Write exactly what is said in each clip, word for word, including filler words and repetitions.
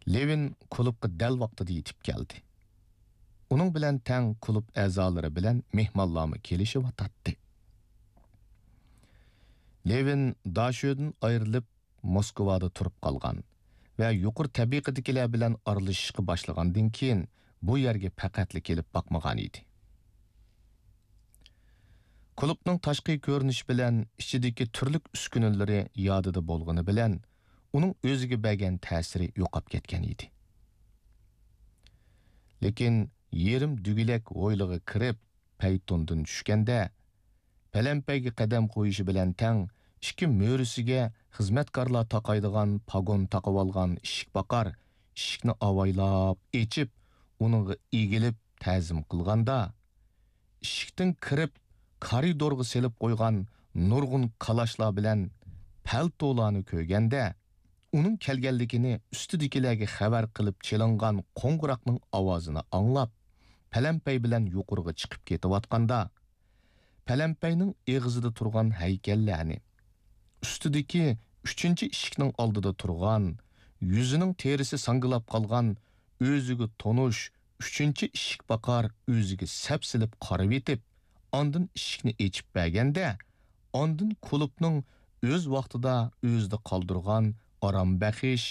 لېۋىن كۇلۇبقا دەل ۋاقتىدا يېتىپ كەلدى. ئۇنىڭ بىلەن تەڭ كۇلۇب ئەزالىرى بىلەن مېھمانلارمۇ كېلىشىۋاتاتتى. لېۋىن داشۆدىن ئايرىلىپ، موسكۋادا تۇرۇپ قالغان ۋە يۇقىرى تەبىقىدىكىلەر بىلەن ئارىلىشىشقا باشلىغاندىن كېيىن، بۇ يەرگە پەقەتلا كېلىپ باقمىغان ئىدى. كۇلۇبنىڭ تاشقى كۆرۈنۈشى بىلەن ئىچىدىكى تۈرلۈك ئۈسكۈنىلىرى يادىدا بولغىنى بىلەن، ئۇنىڭ ئۆزىگە بەرگەن تەسىرى يوقاپ كەتكەن ئىدى. لېكىن يېرىم دۈگىلەك ھويلىغا كىرىپ، پەيتوندىن چۈشكەندە، پەلەمپەيگە قەدەم قويۇشى بىلەن تەڭ، ئىككى مۈرىسىگە خىزمەتكارلار تاقايدىغان پاگون تاقىۋالغان ئىشىك باقار ئىشىكنى ئاۋايلاپ ئېچىپ، ئۇنىڭغا ئېگىلىپ تەزىم قىلغاندا، ئىشىكتىن كىرىپ، كارىدورغا سېلىپ قويغان نۇرغۇن كالاشلار بىلەن پەلتولارنى كۆرگەندە، ئۇنىڭ كەلگەنلىكىنى ئۈستىدىكىلەرگە خەۋەر قىلىپ چېلىنغان قوڭغۇراقنىڭ ئاۋازىنى ئاڭلاپ، پەلەمپەي بىلەن يۇقىرىغا چىقىپ كېتىۋاتقاندا، پەلەمپەينىڭ ئېغىزىدا تۇرغان ھەيكەللەرنى، ئۈستىدىكى ئۈچىنچى ئىشىكنىڭ ئالدىدا تۇرغان، يۈزىنىڭ تېرىسى ساڭگىلاپ قالغان، ئۆزىگە تونۇش ئۈچىنچى ئىشىك باقار ئۆزىگە سەپسېلىپ قارىۋېتىپ، ئاندىن ئىشىكنى ئېچىپ بەرگەندە، ئاندىن كۇلۇبنىڭ ئۆز ۋاقتىدا ئۆزىدە قالدۇرغان ئارام بەخش،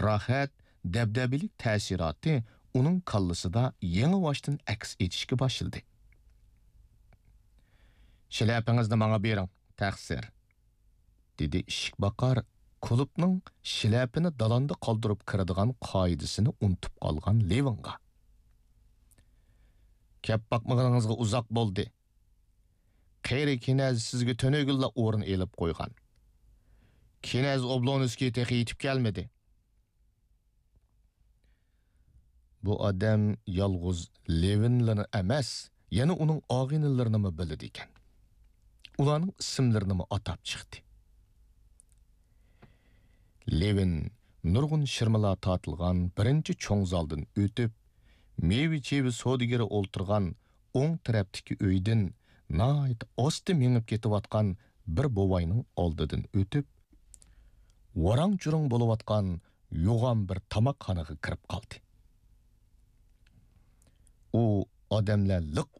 راھەت، دەبدەبىلىك تەسىراتى ئۇنىڭ كاللىسىدا يېڭىباشتىن ئەكس ئېتىشكە باشلىدى. «شىلەپىڭىزنى ماڭا بېرىڭ، تەقسىر.» دېدى ئىشىك باقار، كۇلۇبنىڭ شىلەپىنى دالاندا قالدۇرۇپ كىرىدىغان قائىدىسىنى ئۇنتۇپ قالغان لېۋىنغا. «كەپ باقمىغىنىڭىزغا ئۇزاق بولدى. قېرى كىنەز سىزگە تۈنۈگۈنلا ئورۇن ئېلىپ قويغان. كىنەز ئوبلونسكىي تېخى يېتىپ كەلمىدى.» بۇ ئادەم يالغۇز لېۋىنلىنى ئەمەس، يەنە ئۇنىڭ ئاغىنىلىرىنىمۇ بىلىدىكەن. ئۇلارنىڭ ئىسىملىرىنىمۇ ئاتاپ چىقتى. لېۋىن نۇرغۇن شىرمىلار تارتىلغان بىرىنچى چوڭ زالدىن ئۆتۈپ، مېۋە-چېۋە سودىگىرى ئولتۇرغان ئوڭ تەرەپتىكى ئۆيدىن ناھايىتى ئاستا مېڭىپ كېتىۋاتقان بىر بوۋاينىڭ ئالدىدىن ئۆتۈپ، ۋاراڭ-چۇرۇڭ بولۇۋاتقان يوغان بىر تاماقخانىغا كىرىپ قالدى. ئۇ ئادەملەر لىق